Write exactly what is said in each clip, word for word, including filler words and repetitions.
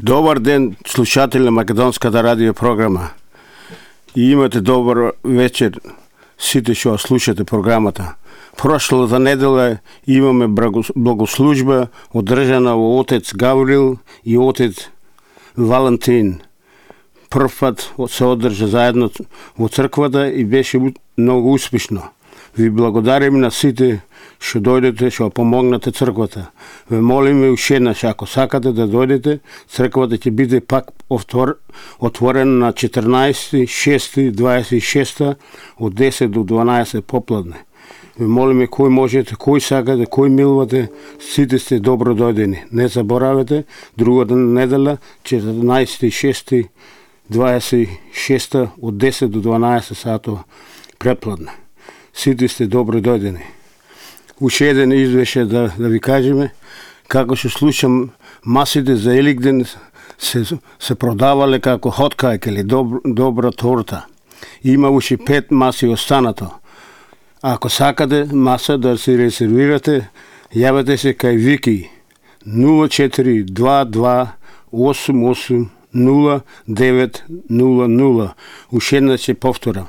Добар ден, слушатели на Македонската радио програма. И имате добар вечер сите што слушате програмата. Прошлата недела имаме благослужба одржана во отец Гаврил и отец Валентин. Прв пат се одржа заедно во црквата и беше многу успешно. Ви благодарим на сите што дојдете, што помогнате црквата. Ве молиме уште еднаш, ако сакате да дојдете, црквата ќе биде пак отворена на четрнаесети шести дваесет и шеста од десет до дванаесет попладне. Ве молиме кој можете, кој сакате, кој милувате, сите сте добро дојдени. Не заборавете, другата недела, четрнаесети шести дваесет и шеста од десет до дванаесет сато препладне. Сите сте добро дојдени. Уште еден извеше да, да ви кажеме, како што слушам, масите за Еликден се, се продавале како hot cake или доб, добра торта. Има уште пет маси останато. Ако сакате маса да се резервирате, јавете се кај Вики нула четири два два осум осум нула девет нула нула. Уште еднаш ќе повторам.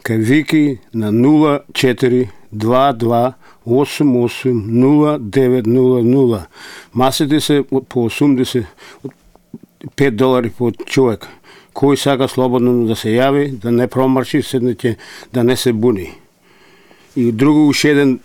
Кај Вики на нула четири два два осум осум нула девет нула нула. Масите се по осумдесет пет долари по човек. Кој сака слободно да се јави, да не промарши, седнете, да не се буни. И друго уште еден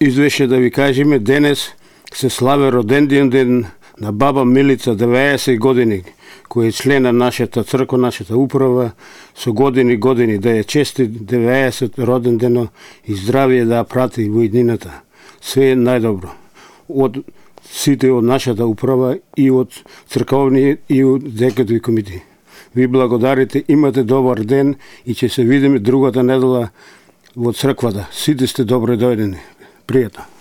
извеше да ви кажеме, денес се слави роденден ден на баба Милица, деветдесет години, кој е член на нашата црква, нашата управа, со години години, да ја чести деветдесет роден дено и здравие да ја прати во иднината. Све најдобро. Од сите од нашата управа и од црковни и од декатови комити. Ви благодарите, имате добар ден и ќе се видиме другата недела во црквата. Сите сте добро дојдени. Пријатно.